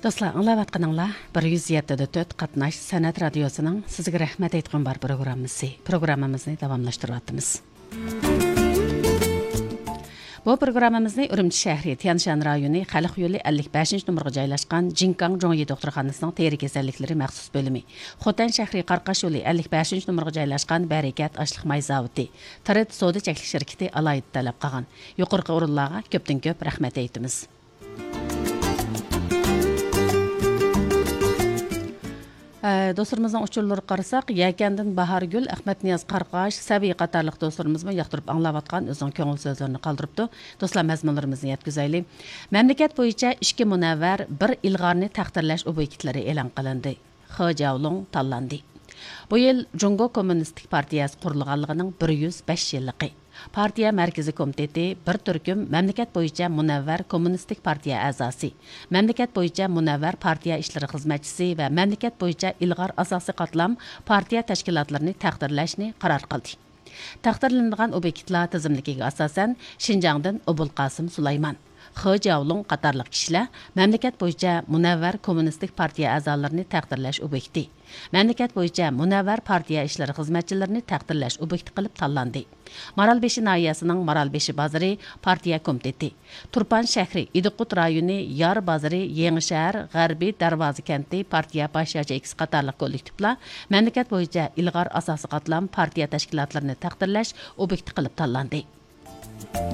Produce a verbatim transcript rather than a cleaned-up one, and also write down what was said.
دوستلار، ئاڭلاۋاتقىنىڭلار بىر يۈز يەتتە دە تۆت قاتناش سەنئەت رادىيوسىنىڭ سىزگە رەھمەت ئېيتقۇم بار پروگراممىسى. پروگراممىمىزنى داۋاملاشتۇرۇۋاتىمىز. بۇ پروگراممىمىزنى ئۈرۈمچى شەھىرى، تيەنشان رايونى، خەلق يولى ئەللىك بەشىنچى نومۇرغا جايلاشقان جىنكاڭ جوڭيى دوختۇرخانىسىنىڭ تېرە كېسەللىكلىرى مەخسۇس بۆلۈمى، خوتەن شەھىرى، قاراقاش يولى ئەللىك بەشىنچى نومۇرغا جايلاشقان بەرىكەت ئاشلىق ماي زاۋۇتى، تىرىت سودا چەكلىك شىركىتى ئالاھىدە تەلەپ قىلغان. يۇقىرىقى ئورۇنلارغا كۆپتىن كۆپ رەھمەت ئېيتىمىز. ئە، دوستلىرىمىزنىڭ ئۇچۇرلىرىغا قارىساق، يەكەندىن باھارگۈل، ئەخمەتنىياز قاراقاش، سەبىي قاتارلىق دوستلىرىمىزمۇ ياقتۇرۇپ ئاڭلاۋاتقان ئۆزىنىڭ كۆڭۈل سۆزلىرىنى قالدۇرۇپتۇ. دوستلار، مەزمۇنلىرىمىزنى يەتكۈزەيلى. مەملىكەت بويىچە ئىككى مۇنەۋۋەر، بىر ئىلغارنى تەقدىرلەش ئوبيېكتلىرى ئېلان قىلىندى. خې جياۋلۇڭ تاللاندى. بۇ يىل جۇڭگو كوممۇنىستىك پارتىيەسى قۇرۇلغانلىقىنىڭ بىر يۈز بەش يىللىقى. پارتىيە مەركىزىي كومىتېتى بىر تۈركۈم مەملىكەت بويىچە مۇنەۋۋەر كوممۇنىستىك پارتىيە ئەزاسى، مەملىكەت بويىچە مۇنەۋۋەر پارتىيە ئىشلىرى خىزمەتچىسى ۋە مەملىكەت بويىچە ئىلغار ئاساسىي قاتلام پارتىيە تەشكىلاتلىرىنى تەقدىرلەشنى قارار قىلدى. تەقدىرلىنىدىغان ئوبيېكتلار تىزىملىكىگە ئاساسەن، شىنجاڭدىن ئوبۇلقاسىم سۇلايمان، خې جياۋلۇڭ قاتارلىق كىشىلەر مەملىكەت بويىچە مۇنەۋۋەر كوممۇنىستىك پارتىيە ئەزالىرىنى تەقدىرلەش ئوبيېكتى، مەملىكەت بويىچە مۇنەۋۋەر پارتىيە ئىشلىرى خىزمەتچىلىرىنى تەقدىرلەش ئوبيېكتى قىلىپ تاللاندى. مارالبېشى ناھىيەسىنىڭ مارالبېشى بازىرى پارتىيە كومىتېتى، تۇرپان شەھىرى، ئىدىقۇت رايونى، يار بازىرى، يېڭىشەھەر، غەربىي دەرۋازا كەنتى پارتىيە باش ياچېيكىسى قاتارلىق كوللېكتىپلار مەملىكەت بويىچە ئىلغار ئاساسىي قاتلام پارتىيە تەشكىلاتلىرىنى تەقدىرلەش ئوبيېكتى قىلىپ تاللاندى.